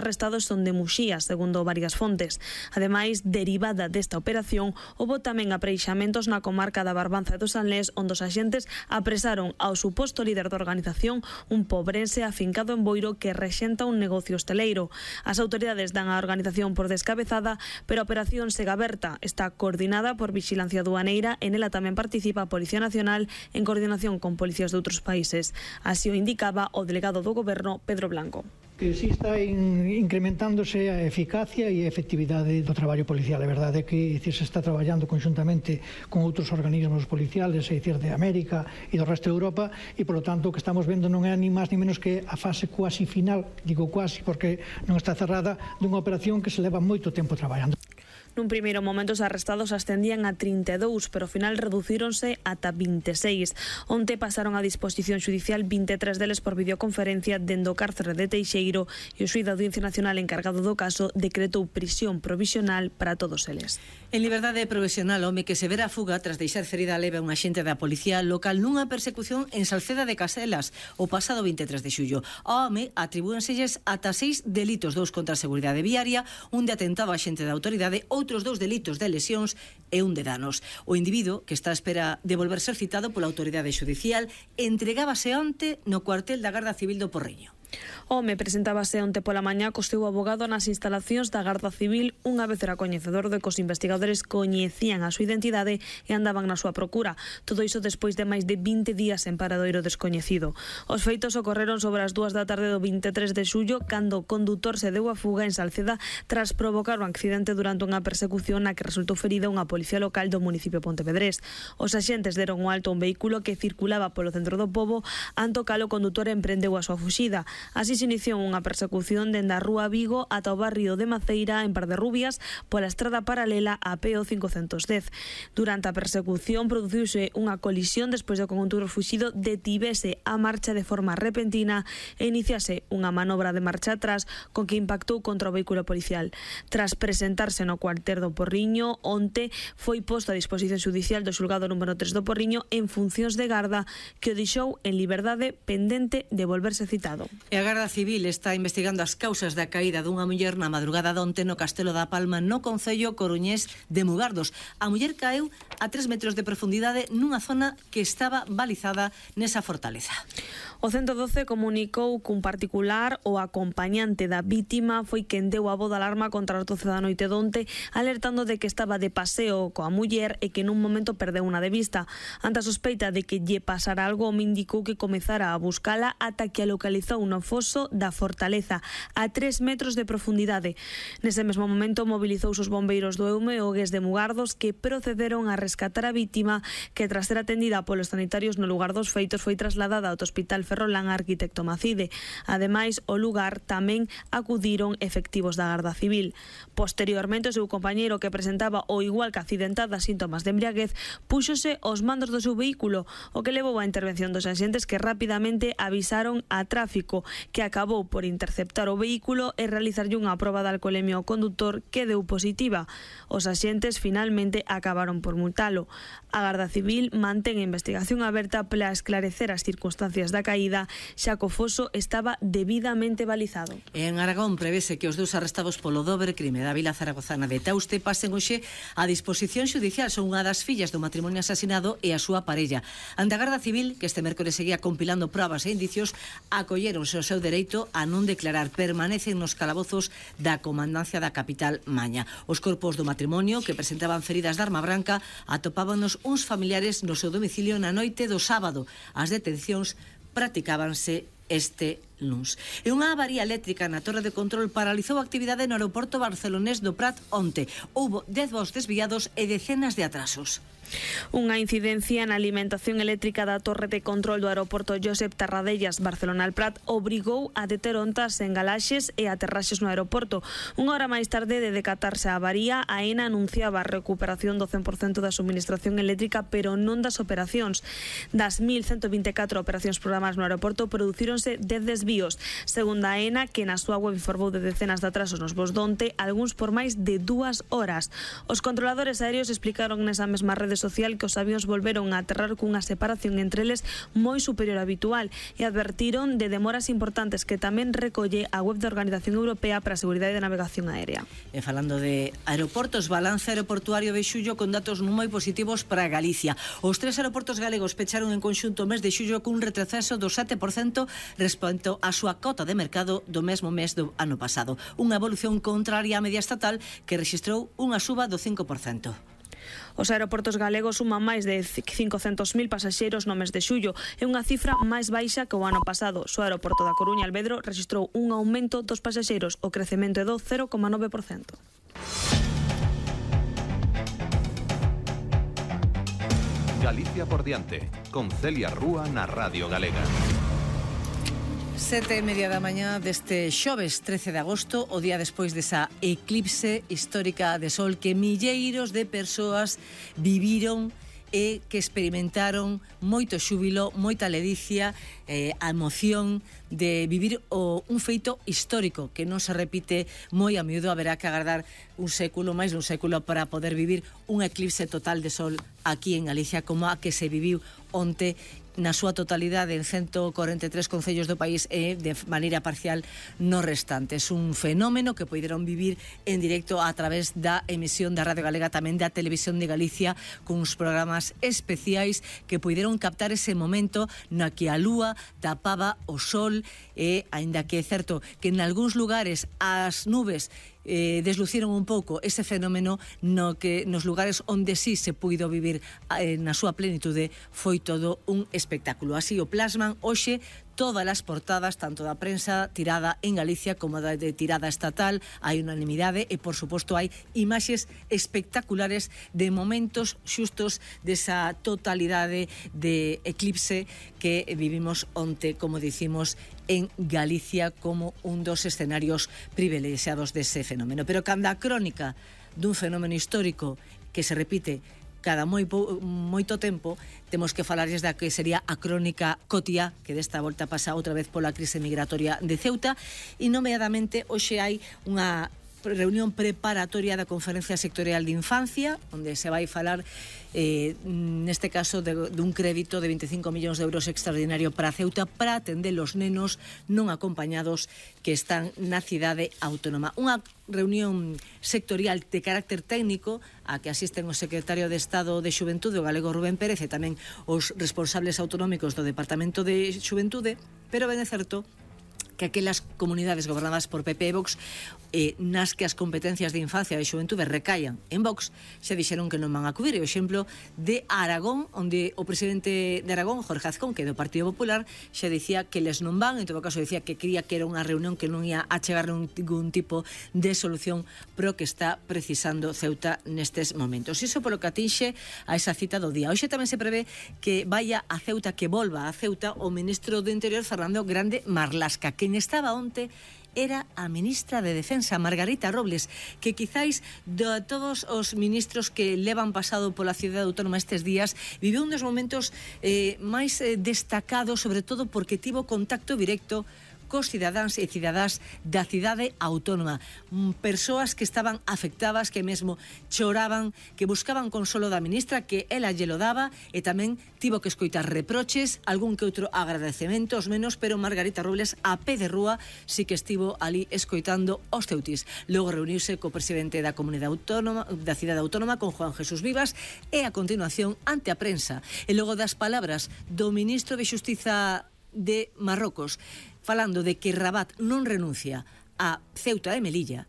arrestados son de Muxía, segundo varias fontes. Ademais, derivada desta operación, houbo tamén apreixamentos na comarca da Barbanza e do Salnés, onde os axentes apresaron ao suposto líder da organización, un pobrense afincado en Boiro que rexenta un negocio hosteleiro. As autoridades dan a organización por descabezada, pero a operación segue aberta. Está coordinada por Vixilancia Aduaneira e nela tamén participa a Policía Nacional en coordinación con policías de outros países. Así o indicaba o delegado do Goberno, Pedro Blanco. Que si está incrementándose a eficacia e a efectividade do traballo policial. É verdade que se está traballando conxuntamente con outros organismos policiales, é dicir, de América e do resto de Europa, e, polo tanto, o que estamos vendo non é ni máis ni menos que a fase cuasi final, digo cuasi porque non está cerrada, dunha operación que se leva moito tempo traballando. Nun primeiro momento os arrestados ascendían a 32, pero ao final reducíronse ata 26. Onte pasaron a disposición xudicial 23 deles por videoconferencia dende o cárcere de Teixeiro e o xuíz da Audiencia Nacional encargado do caso decretou prisión provisional para todos eles. En liberdade provisional, home que se vera a fuga tras deixar ferida leve a un axente da policía local nunha persecución en Salceda de Caselas o pasado 23 de xullo. Ao home atribúenselles ata 6 delitos, 2 contra a seguridade viaria, un de atentado a axente da autoridade, outros 2 delitos de lesións e un de danos. O individuo, que está a espera de volver ser citado pola autoridade xudicial, entregábase onte no cuartel da Garda Civil do Porriño. O home presentábase onte pola mañá co seu abogado nas instalacións da Garda Civil unha vez era coñecedor de que os investigadores coñecían a súa identidade e andaban na súa procura. Todo iso despois de máis de 20 días en paradoiro descoñecido. Os feitos ocorreron sobre as 2 da tarde do 23 de xullo cando o condutor se deu a fuga en Salceda tras provocar un accidente durante unha persecución na que resultou ferida unha policía local do municipio Pontevedrés. Os axentes deron o alto a un vehículo que circulaba polo centro do pobo, anto cal o condutor emprendeu a súa fuxida. Así se iniciou unha persecución dende a Rúa Vigo ata o barrio de Maceira en Parderrubias pola estrada paralela a PO 510. Durante a persecución produciuse unha colisión despois de que o condutor fuxido detivese a marcha de forma repentina e iniciase unha manobra de marcha atrás con que impactou contra o vehículo policial. Tras presentarse no cuartel do Porriño, onte foi posto a disposición xudicial do xulgado número 3 do Porriño en funcións de garda que o deixou en liberdade pendente de volverse citado. E a Garda Civil está investigando as causas da caída dunha muller na madrugada donte no Castelo da Palma no concello coruñés de Mugardos. A muller caeu a 3 metros de profundidade nunha zona que estaba balizada nesa fortaleza. O 112 comunicou cun particular o acompañante da vítima foi quen deu a voz de alarma contra as 12 da noite donte, alertando de que estaba de paseo coa muller e que nun momento perdeu unha de vista. Ante a sospeita de que lle pasara algo, me indicou que comezara a buscala ata que a localizou no foso da fortaleza a 3 metros de profundidade. Nese mesmo momento mobilizou os bombeiros do EUME e o GES de Mugardos que procederon a rescatar a vítima que tras ser atendida polos sanitarios no lugar dos feitos foi trasladada ao Hospital Ferrolán Arquitecto Macide. Ademais, ao lugar tamén acudiron efectivos da Garda Civil. Posteriormente, o seu compañeiro que presentaba o igual que accidentada síntomas de embriaguez púxose aos mandos do seu vehículo, o que levou á intervención dos axentes que rapidamente avisaron a tráfico, que acabou por interceptar o vehículo e realizarlle unha proba de alcolemia ao condutor que deu positiva. Os axentes finalmente acabaron por multalo. A Garda Civil mantén a investigación aberta para esclarecer as circunstancias da caída, xa que o foso estaba debidamente balizado. En Aragón prevese que os 2 arrestados polo dobre crime da vila zaragozana de Tauste pasen hoxe a disposición xudicial. Son unha das fillas do matrimonio asasinado e a súa parella. Ante a Garda Civil, que este mércores seguía compilando probas e indicios, acolleronse o seu dereito a non declarar. Permanecen nos calabozos da comandancia da capital Maña. Os corpos do matrimonio, que presentaban feridas de arma branca, atopábanos uns familiares no seu domicilio na noite do sábado. As detencións practicábanse este luns. E unha avaría eléctrica na torre de control paralizou a actividade no aeroporto barcelonés do Prat onte. Houbo 10 voos desviados e decenas de atrasos. Unha incidencia na alimentación eléctrica da torre de control do aeroporto Josep Tarradellas Barcelona-Prat obrigou a deter ontas en galaxes e aterraxes no aeroporto. Unha hora máis tarde de decatarse a avaría, AENA anunciaba a recuperación do 100% da suministración eléctrica, pero non das operacións. Das 1.124 operacións programadas no aeroporto, producíronse 10 desvíos. Segundo a AENA, que na súa web informou de decenas de atrasos nos voos donte, algúns por máis de 2 horas. Os controladores aéreos explicaron nesa mesma rede social que os avións volveron a aterrar cunha separación entre eles moi superior á habitual e advertiron de demoras importantes que tamén recolle a web da Organización Europea para a Seguridade de Navegación Aérea. E falando de aeroportos, balance aeroportuario de xullo con datos moi positivos para Galicia. Os 3 aeroportos galegos pecharon en conxunto o mes de xullo cun retroceso do 7% respecto á súa cota de mercado do mesmo mes do ano pasado. Unha evolución contraria á media estatal que rexistrou unha suba do 5%. Os aeroportos galegos suman máis de 500.000 pasaxeiros no mes de xullo. É unha cifra máis baixa que o ano pasado. O aeroporto da Coruña Alvedro rexistrou un aumento dos pasaxeiros. O crecemento é do 0,9%. Galicia por diante, con Celia Rúa na Radio Galega. 7:30 da mañá deste xoves 13 de agosto, o día despois desa eclipse histórica de sol que milleiros de persoas viviron e que experimentaron moito xúbilo, moita ledicia, a emoción de vivir un feito histórico que non se repite moi a miúdo. Haberá que agardar un século, máis dun século, para poder vivir un eclipse total de sol aquí en Galicia como a que se viviu onte na súa totalidade en 143 concellos do país e de maneira parcial no restantes. Un fenómeno que poideron vivir en directo a través da emisión da Radio Galega, tamén da Televisión de Galicia, con uns programas especiais que poideron captar ese momento na que a lúa tapaba o sol e, aínda que é certo que en algúns lugares as nubes desluciron un pouco ese fenómeno, no que nos lugares onde sí se puido vivir na súa plenitude foi todo un espectáculo. Así o plasman hoxe todas as portadas, tanto da prensa tirada en Galicia como da de tirada estatal. Hai unanimidade e, por suposto, hai imaxes espectaculares de momentos xustos desa totalidade de eclipse que vivimos onte, como dicimos, en Galicia como un dos escenarios privilexiados dese fenómeno. Pero cando a crónica dun fenómeno histórico que se repite cada moito tempo, temos que falarles da que sería a crónica Cotia, que desta volta pasa outra vez pola crise migratoria de Ceuta, e nomeadamente hoxe hai unha reunión preparatoria da Conferencia Sectorial de Infancia, onde se vai falar neste caso dun crédito de 25 millóns de euros extraordinario para Ceuta para atender os nenos non acompañados que están na cidade autónoma. Unha reunión sectorial de carácter técnico a que asisten o secretario de Estado de Xuventude, o galego Rubén Pérez, e tamén os responsables autonómicos do Departamento de Xuventude, pero ben é certo que aquelas comunidades gobernadas por PP e Vox, nas que as competencias de infancia e de xuventude recaian en Vox, se dixeron que non van a acudir. O exemplo de Aragón, onde o presidente de Aragón, Jorge Azcón, que é do Partido Popular, xa dicía que les non van, en todo caso dicía que quería que era unha reunión que non ia a chegar ningún tipo de solución pro que está precisando Ceuta nestes momentos. Iso polo que atinxe a esa cita do día. Hoxe tamén se prevé que vaya a Ceuta, que volva a Ceuta, o ministro do Interior, Fernando Grande Marlasca. Quen estaba onte era a ministra de Defensa, Margarita Robles, que quizáis de todos os ministros que levan pasado pola cidade autónoma estes días, viveu un dos momentos máis destacados, sobre todo porque tivo contacto directo cos cidadáns e cidadás da cidade autónoma, persoas que estaban afectadas, que mesmo choraban, que buscaban consolo da ministra, que ela lle lo daba, e tamén tivo que escoitar reproches, algún que outro agradecementos menos, pero Margarita Robles a pé de rúa sí que estivo ali escoitando os ceutis. Logo reuniuse co presidente da comunidade autónoma, da cidade autónoma, con Juan Jesús Vivas, e a continuación ante a prensa, e logo das palabras do ministro de Xustiza de Marrocos, falando de que Rabat non renuncia a Ceuta e Melilla,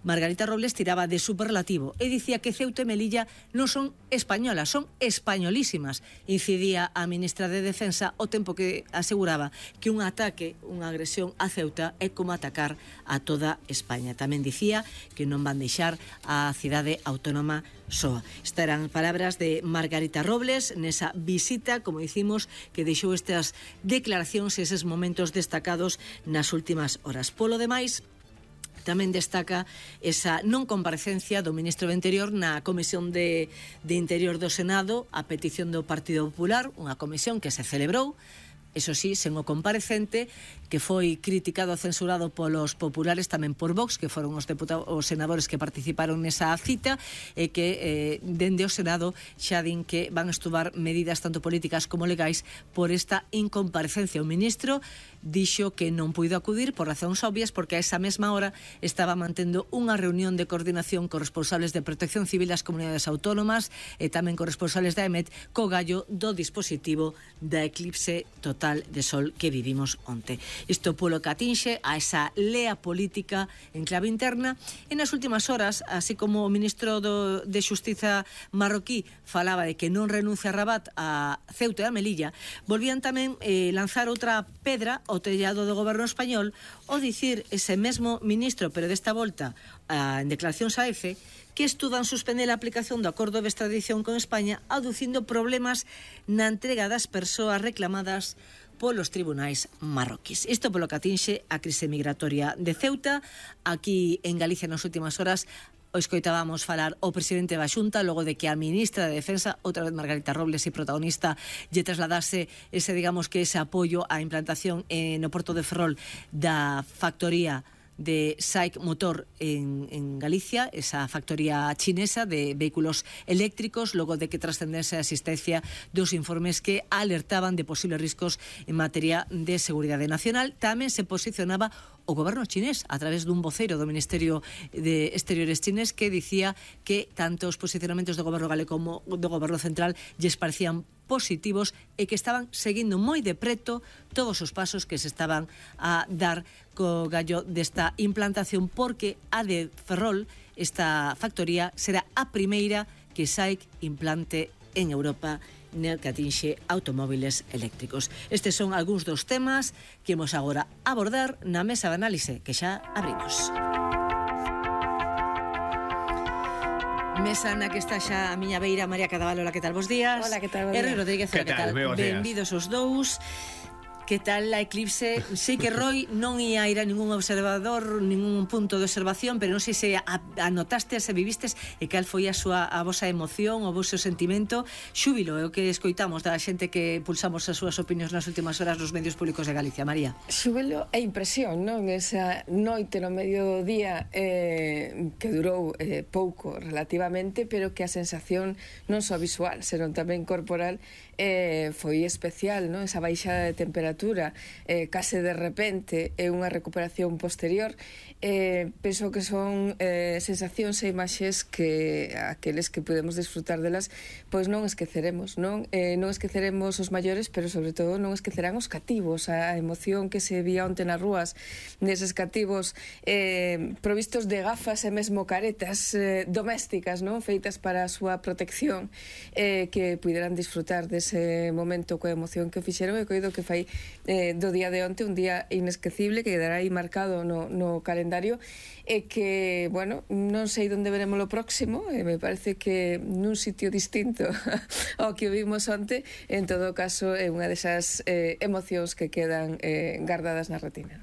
Margarita Robles tiraba de superlativo e dicía que Ceuta e Melilla non son españolas, son españolísimas. Incidía a ministra de Defensa o tempo que aseguraba que un ataque, unha agresión a Ceuta é como atacar a toda España. Tamén dicía que non van deixar a cidade autónoma soa. Estas eran palabras de Margarita Robles nesa visita, como dicimos, que deixou estas declaracións e eses momentos destacados nas últimas horas. Polo demais, tamén destaca esa non comparecencia do ministro do Interior na Comisión de Interior do Senado a petición do Partido Popular, unha comisión que se celebrou eso sí, sen o comparecente, que foi criticado e censurado polos populares, tamén por Vox, que foron os senadores que participaron nesa cita, e que dende o Senado xa din que van a estudar medidas tanto políticas como legais por esta incomparecencia. O ministro dixo que non puido acudir por razóns obvias, porque a esa mesma hora estaba mantendo unha reunión de coordinación con responsables de Protección Civil das comunidades autónomas e tamén con responsables da EMET co gallo do dispositivo da eclipse total de sol que vivimos onte. Isto polo que atinxe a esa lea política en clave interna. E nas últimas horas, así como o ministro de Xustiza marroquí falaba de que non renuncia a Rabat, a Ceuta e a Melilla, volvían tamén lanzar outra pedra ao tellado do goberno español, o dicir ese mesmo ministro, pero desta volta en declaracións a EFE, que estudan suspender a aplicación do acordo de extradición con España, aducindo problemas na entrega das persoas reclamadas polos tribunais marroquís. Isto polo que atinxe a crise migratoria de Ceuta. Aquí en Galicia nas últimas horas o escoitábamos falar o presidente da Xunta logo de que a ministra de Defensa, outra vez Margarita Robles e protagonista, lle trasladase ese, digamos que ese apoio á implantación no Porto de Ferrol da factoría de SAIC Motor en Galicia, esa factoría chinesa de vehículos eléctricos, logo de que trascendese a existencia dos informes que alertaban de posibles riscos en materia de seguridade nacional. Tamén se posicionaba o goberno chinés a través dun voceiro do Ministerio de Exteriores chinés que dicía que tanto os posicionamentos do goberno galego como do goberno central lles parecían positivos e que estaban seguindo moi de preto todos os pasos que se estaban a dar co gallo desta implantación, porque a de Ferrol, esta factoría, será a primeira que SAIC implante en Europa no que atinxe automóviles eléctricos. Estes son algúns dos temas que imos agora abordar na mesa de análise que xa abrimos. Mesa na que está xa a miña beira María Cadaval. Hola, que tal? Bos días. Hola, que tal? Erri Rodríguez, hola, que tal? Benvidos os dous. Que tal a eclipse? Sei que Roy non ia ir a ningún observador, ningún punto de observación, pero non sei se anotastes, se vivistes, e cal foi a vosa emoción, o vosso sentimento. Xúbilo é o que escoitamos da xente que pulsamos as súas opinións nas últimas horas nos medios públicos de Galicia. María. Xúbilo e impresión, non? Esa noite no medio do día que durou pouco relativamente, pero que a sensación non só visual, senón tamén corporal foi especial, non? Esa baixada de temperatura case de repente e unha recuperación posterior. Penso que son sensacións e imaxes que aqueles que podemos disfrutar delas pois non esqueceremos, non esqueceremos os maiores, pero sobre todo non esquecerán os cativos, a emoción que se vía onte nas rúas neses cativos provistos de gafas e mesmo caretas domésticas, non? Feitas para a súa protección, que puderan disfrutar dese momento coa emoción que fixeron. E coido que fai do día de onte un día inesquecible que quedará aí marcado no calendario, e que, bueno, non sei onde veremos o próximo, e me parece que nun sitio distinto ao que vimos onte. En todo caso, é unha desas emocións que quedan guardadas na retina.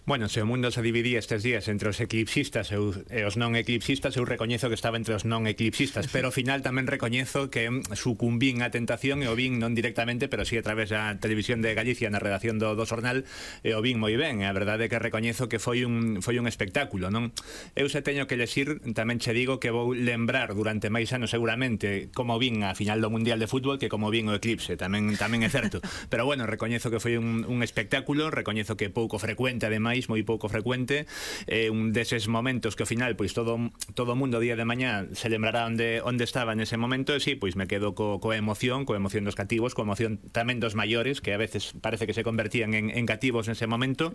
Bueno, se o mundo se dividía estes días entre os eclipsistas e os non eclipsistas, eu recoñezo que estaba entre os non eclipsistas, pero ao final tamén recoñezo que sucumbín á tentación e o vin non directamente, pero sí a través da televisión de Galicia na redacción do xornal, e o vin moi ben. A verdade é que recoñezo que foi un espectáculo, non? Eu se teño que lexir, tamén che digo que vou lembrar durante máis anos seguramente como vin a final do Mundial de Fútbol que como vin o eclipse, tamén é certo. Pero bueno, recoñezo que foi un espectáculo, recoñezo que pouco frecuente, ademais, moi pouco frecuente, un deses momentos que ao final pois todo o mundo día de mañá se lembrará onde estaba nese momento. E si, pois me quedo coa emoción dos cativos, coa emoción tamén dos maiores, que a veces parece que se convertían en cativos nese momento,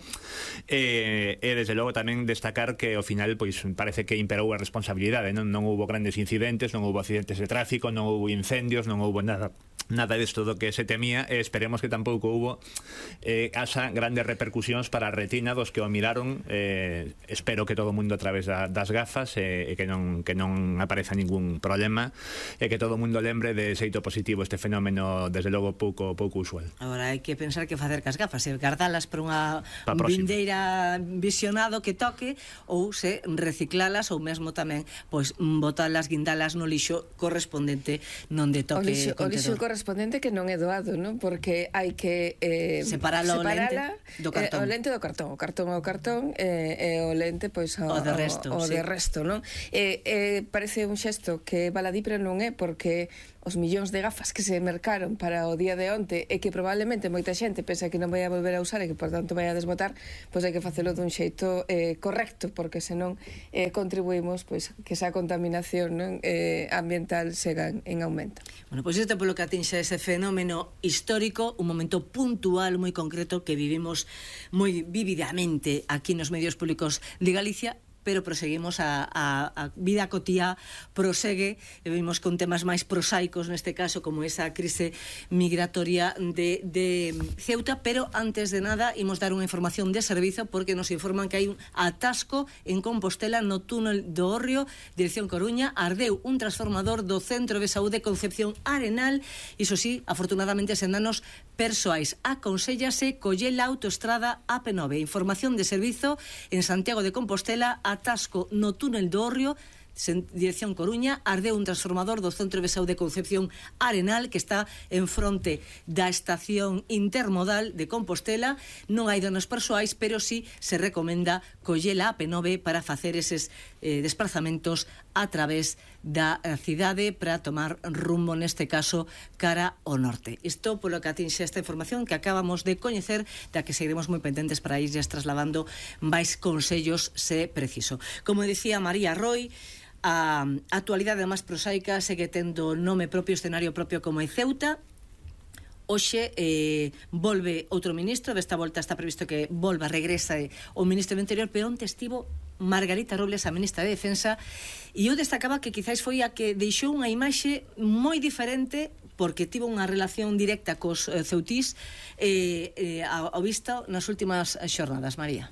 e desde logo tamén destacar que ao final pois parece que imperou a responsabilidade, non houbo grandes incidentes, non houbo accidentes de tráfico, non houbo incendios, non houbo nada desto do que se temía, e esperemos que tampouco houbo asa grandes repercusións para a retina dos que o miraron. Espero que todo o mundo a través das gafas, e que non apareza ningún problema, e que todo o mundo lembre de xeito positivo este fenómeno, desde logo pouco usual. Agora hai que pensar que facer cas gafas, se guardalas para unha vindeira visionado que toque, ou se reciclalas, ou mesmo tamén pois botalas, guindalas no lixo correspondente non de toque o lixo contedor. correspondente que non é doado, non? Porque hai que separala o lente do cartón. O cartón ao cartón e o lente pois ao de resto, non? Parece un xesto que baladí, pero non é, porque os millóns de gafas que se mercaron para o día de onte e que probablemente moita xente pensa que non vai a volver a usar e que por tanto vai a desbotar, pois hai que facelo dun xeito correcto, porque senón contribuímos pois que esa contaminación, non, ambiental sega en aumento. Bueno, pois isto polo que atinxa ese fenómeno histórico, un momento puntual moi concreto que vivimos moi vividamente aquí nos medios públicos de Galicia, pero proseguimos a vida cotía prosegue, e vimos con temas máis prosaicos neste caso, como esa crise migratoria de Ceuta. Pero antes de nada imos dar unha información de servizo, porque nos informan que hai un atasco en Compostela no túnel do Hórreo, dirección Coruña. Ardeu un transformador do Centro de Saúde Concepción Arenal, iso sí, afortunadamente sen danos persoais. Aconsellase coller a autoestrada AP9. Información de servizo en Santiago de Compostela. Atasco no túnel do Hórreo, dirección Coruña. Ardeu un transformador do Centro de Saúde Concepción Arenal, que está en fronte da estación intermodal de Compostela. Non hai danos persoais, pero sí se recomenda coller a AP9 para facer eses desplazamentos a través da cidade para tomar rumbo, neste caso, cara ao norte. Isto polo que atinxe esta información que acabamos de coñecer, da que seguiremos moi pendentes para irles trasladando máis consellos se preciso. Como dicía María Roy, a actualidade máis prosaica segue tendo nome propio, escenario propio, como é Ceuta. Hoxe volve outro ministro, desta volta está previsto que volva, regresa o ministro do Interior, pero onte estivo Margarita Robles, a ministra de Defensa, e eu destacaba que quizáis foi a que deixou unha imaxe moi diferente, porque tivo unha relación directa cos ceutís ao vista nas últimas xornadas. María.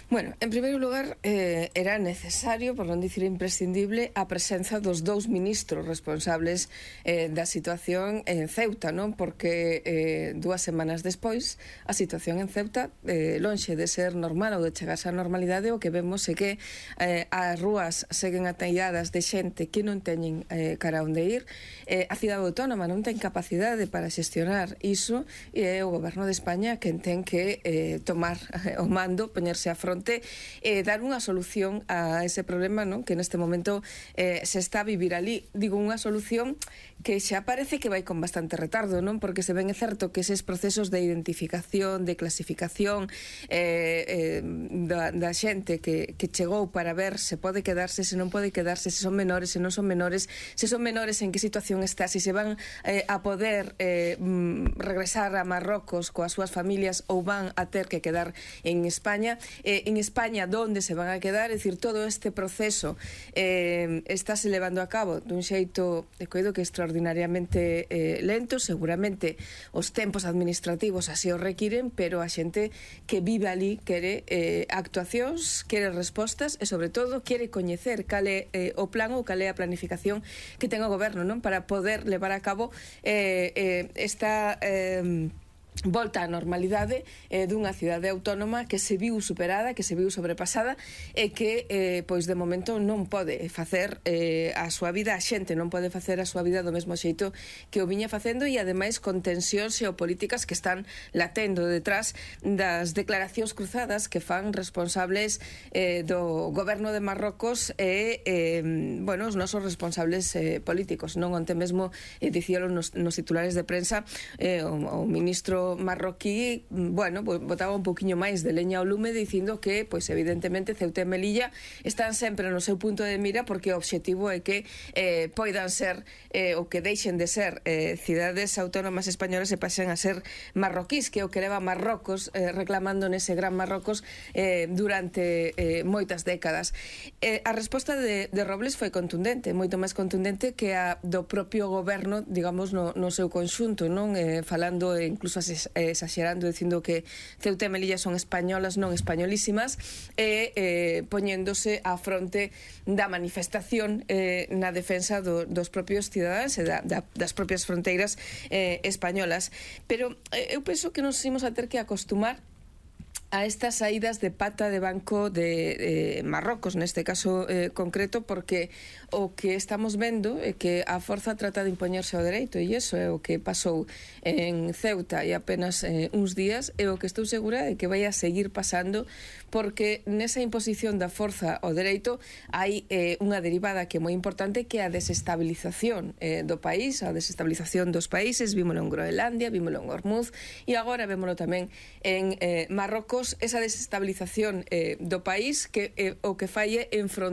Bueno, en primeiro lugar, era necesario, por non dicir imprescindible, a presenza dos dous ministros responsables da situación en Ceuta, non? Porque 2 semanas despois, a situación en Ceuta, lonxe de ser normal ou de chegarse á normalidade, o que vemos é que as rúas seguen atalladas de xente que non teñen cara onde ir, a cidade autónoma non ten capacidade para xestionar iso, e é o goberno de España quen ten que tomar o mando, poñerse a fronte, dar unha solución a ese problema, non? Que neste momento se está a vivir ali. Digo, unha solución que xa parece que vai con bastante retardo, non? Porque se ven, é certo, que eses procesos de identificación, de clasificación da xente que chegou para ver se pode quedarse, se non pode quedarse, se son menores, se non son menores, se son menores en que situación está, se van a poder regresar a Marrocos coas súas familias ou van a ter que quedar en España, en España donde se van a quedar. É dicir, todo este proceso estáse levando a cabo dun xeito, coido que extraordinariamente lento. Seguramente os tempos administrativos así o requiren, pero a xente que vive ali quere actuacións, quere respostas e, sobre todo, quere coñecer cal é o plan ou cal é a planificación que ten o goberno, non? Para poder levar a cabo esta volta á normalidade dunha cidade autónoma que se viu superada, que se viu sobrepasada e que, pois, de momento non pode facer a súa vida, a xente non pode facer a súa vida do mesmo xeito que o viña facendo, e ademais con tensións xeopolíticas que están latendo detrás das declaracións cruzadas que fan responsables do goberno de Marrocos e, bueno, os nosos responsables políticos, non? Onte mesmo dicíalo nos titulares de prensa o ministro marroquí, bueno, botaba un poquinho máis de leña ao lume dicindo que, pois, evidentemente, Ceuta e Melilla están sempre no seu punto de mira, porque o obxectivo é que poidan ser ou que deixen de ser cidades autónomas españolas e pasen a ser marroquís, que é o que leva Marrocos reclamando nese gran Marrocos durante moitas décadas. A resposta de Robles foi contundente, moito máis contundente que a do propio goberno, digamos, no seu conxunto, non? Falando incluso exagerando, dicindo que Ceuta e Melilla son españolas, non españolísimas, e poñéndose á fronte da manifestación na defensa dos propios cidadáns e das propias fronteiras españolas. Pero eu penso que nos imos a ter que acostumar a estas saídas de pata de banco de Marrocos, neste caso concreto, porque o que estamos vendo é que a forza trata de impoñerse ao dereito, e iso é o que pasou en Ceuta e apenas uns días, e o que estou segura é que vai a seguir pasando, porque nesa imposición da forza ao dereito hai unha derivada que é moi importante, que é a desestabilización do país, a desestabilización dos países. Vímolo en Groenlandia, vímolo en Hormuz, e agora vémolo tamén en Marrocos, esa desestabilización do país, que o que fai é enfrontar